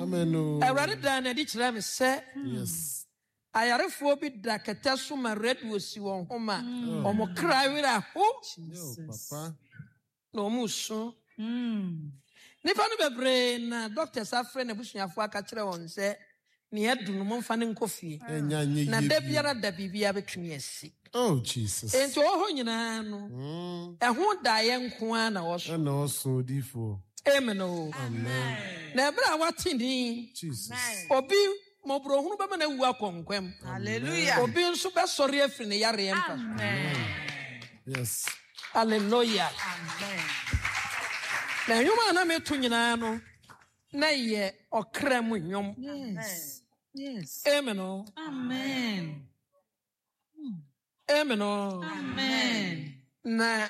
Amen o. Awurade daa n'adi kyerɛɛ me sɛ Yes. ayarefoɔ bi da kɛtɛ so ma radio si wɔn ho ma wɔn kra werɛ aho Yo, papa. na wɔn resu. Nnipa no bebree na doctors afrɛ n'abusuafoɔ aka kyerɛ wɔn sɛ nea adu no momfa no nkɔ fie. Ɛnya nyɛ Na yie da bio. biara da biribiara bɛtumi asi. Oh, Jesus. Enti ɔwɔ hɔ nyinaa no, ɛho daeɛ nko ara na ɔso. Ɛna ɔso odiyifoɔ. Amen o. Amen. Na ɛberɛ a wate din, Jesus. obi mmɔborɔhunu bɛma no awu akɔ nkwam. Hallelujah. Obi nso bɛsɔre afiri ne yareɛ mpa so. Amen. Yes. Hallelujah. Amen. Na nnwom a na meto nyinaa no, na ɛyɛ ɔkra mu nnwom. Yes. Yes. Amen o. Amen. Amen o. Amen. Na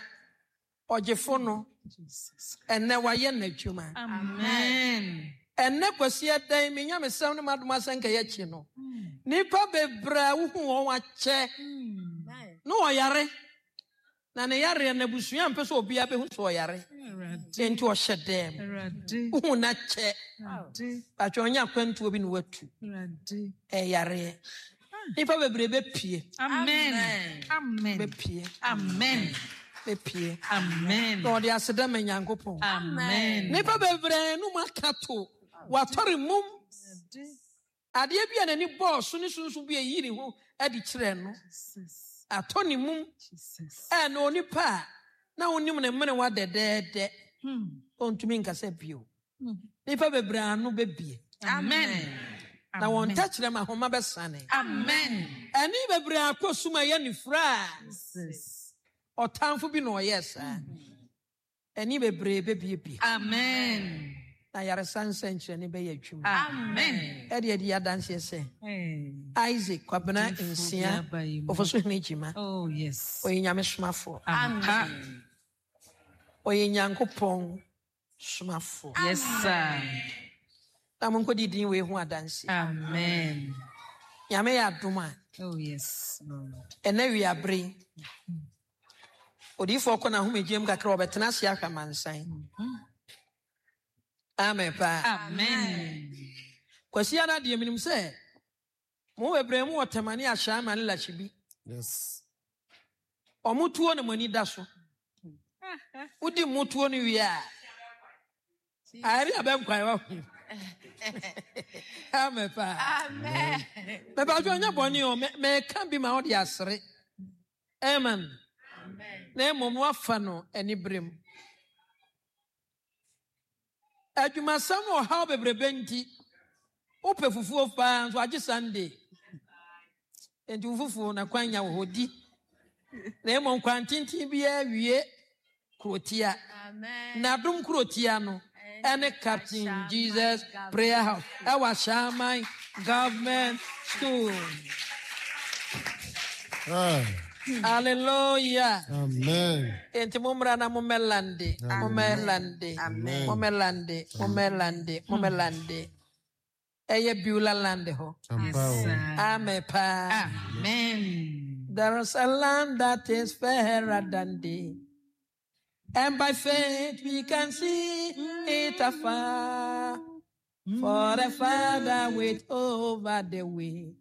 ɔgyefo no, Jesus. ɛnɛ wayɛ n'adwuma. Amen. Ɛnɛ Kwasi ɛdɛn me nyamesɛm ne m'adom asɛnka yi akyi no, nnipa bebree a wohu wɔn akyɛ na ɔyare na ne yareɛ no abusua mpɛ sɛ obiara bɛhu sɛ ɔyare nti ɔhyɛ dɛm wohu no akyɛ batwɛ ɔnyɛ akwantuo bi na watu ɛyareɛ nnipa bebree bɛpie Amen. Amen. bɛpie Amen. bɛpie Amen. na ɔde aseda ma Nyankopɔn. Amen. Nnipa bebree no mu aka to watɔre mum adeɛ bi a n'ani bɔɔ so ne sunsun bi a eyi ne ho adi kyerɛ no atɔ ne mum ɛna onipa a na wonim ne mmerewa dɛdɛɛdɛ ɔntumi nkasa bio. Nnipa bebree ano bɛbie. Amen. Na wɔn tɛkyerɛma ahoma bɛsane. Amen. Ɛne bebree akɔ sum a ɛyɛ nifura a ɔtamfo bi na ɔyɛɛ saa. Ɛne bebree bɛbiebie. Amen. Na yaresa nsɛnkyerɛnne bɛyɛ adwuma. Amen. Ɛde adi adanseɛ sɛ Isaac Kwabena Nsia Ofosuhene Gyima. Oh yes. Ɔyɛ Nyame somafoɔ. Ampa. Ɔyɛ Nyankopɔn somafoɔ. Yes sir. Na monkɔdi din wei ho adanseɛ. Amen. Nyame yɛ adom a. Oh yes Lord. Ɛnɛ wiabere yi, odiyifoɔ kɔ n'ahomegye mu kakra ɔbɛtena ase ahwɛ amansan. Amen paa. Amen. Kwasi ara deɛ menim sɛ mo bebree mu wɔ Tɛmane Ahyɛama ne Lahyibi. Yes. Ɔmo tuo na mo ani da so. Wodi mo tuo no wie a, ayɛre abɛnkwan wa ho. Amen paa. Amen. Mɛbàtò ɔnyɛ bɔne o, mɛka bi ma ɔde asere. Amen. Na mmom wafa no anibere mu. Adwumasɛm ne ɔhaw bebrebe nti, wopɛ fufuo paa nso agye Sunday. Nti wo fufuo na kwan nya wɔ hɔ di. Na mmom kwan tenten biara wie kurotia. Amen. Na adom kurotia no ɛne Captain Jesus Prayer House ɛwɔ Ashaiman Government School. Ah, Hallelujah. amen. Enti mommra na mommɛlande, mommɛlande, Amen. mommɛlande, mommɛlande, mommɛlande. Ɛyɛ Beulah land hɔ. Yes Ampa o. sir. Amen paa. Amen. There is a land that is fairer than thee. And by faith we can see it afar. For the Father waits over the way.